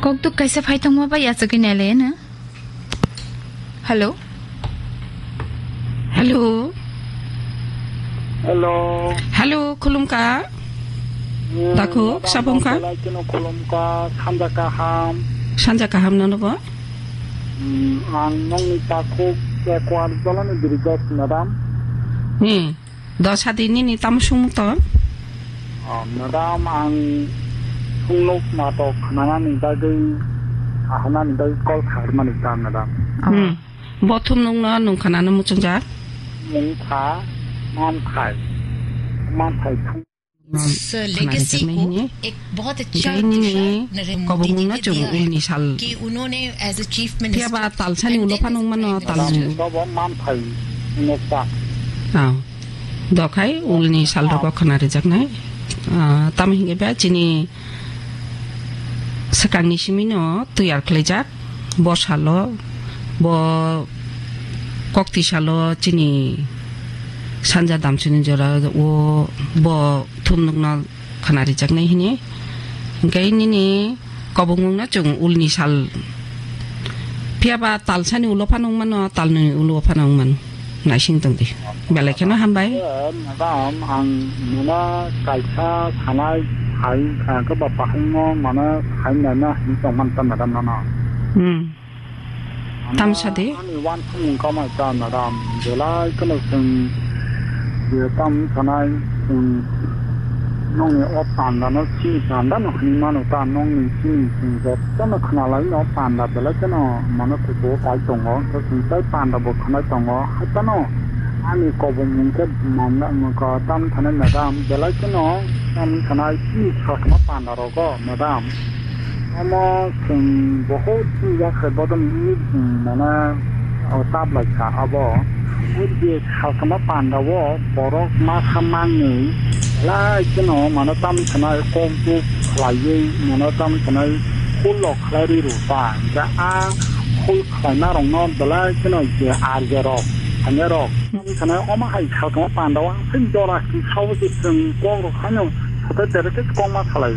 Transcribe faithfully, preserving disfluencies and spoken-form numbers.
Kok duk kaisa phai tongma bai achugwi nailai na. Hello. Hello. Hello. Hello, khulumkha. Hmm, Takhuk, madam, sabongkha? Belai kheno khulumkha, sanja kaham. Sanja kaham nono bo? Hmm, ang nongni takhuk Ekuar Jolani Birigas, madam. Hmm. Dosa di nini tamo sung to? Oh, madam, ang sungnuk natok khnanani bagwi, sahanani bagwi call khaimani ta, madam. Hmm. Bo thum nung no nung khanano muchungjak? Mungkha, manthai, manthai thum. इस लेगेसी को एक बहुत अच्छा दिशा नरेंद्र मोदी जी ने दिया है कि उन्होंने as a chief minister, kobongmung no chung ulni sal. Phiya ba talsani ulo phanung mano, talni. Madam, manthai, nukta. Ah. Dokhai ulni sal rogo khna rijaknai. Ah, tamo hingke ba chini swkangni simino tiyar khwlaijak. Bo salo, bo kokti salo chini sanja damsini jora o bo thumnukno khna rijaknai hini. Hingke nini kobongmungno chung ulni sal. Phiya ba talsani ulo phano wng mano, talni ulo phano wng mano. Naising tong di. Belai kheno hambai. Eh, madam, ang nuna kaisa sanai sai, ah, ke ba pahaino mana sai nana hin tong man ta, madam, nana. Hmm. Tam sa de? Ani wan thumung kamai ta, madam. Belai kheno sing, ye tam sanai, sing Nongni o panda no chini panda no hinwi mano ta, nongni chini chwng jotono khwnalai no panda belai kheno mano kuchugo kai tongo, hwnkhe chwng tai panda bo khwnai tongo, haitano ani kobongmung khe manda wngkha tam thanai madam, belai kheno tamni thanai chini sasma panda rogo madam. Omo chwng bohot chini yakhai bodol wngwi chwng mane o tablaikha abo. O je salsama pandao borok masa mangwi belai kheno mane tamni sanai kok duk khlaiwi mane tamni sanai khul rok khlai rwi rw ta. Hwnkhe a khul khlaina rokno belai kheno je arja rok thangya rok tamni sanai omo hai salsama pandao aswk jora kisa o je chwng kok rok haino satai tere khe kokma salai.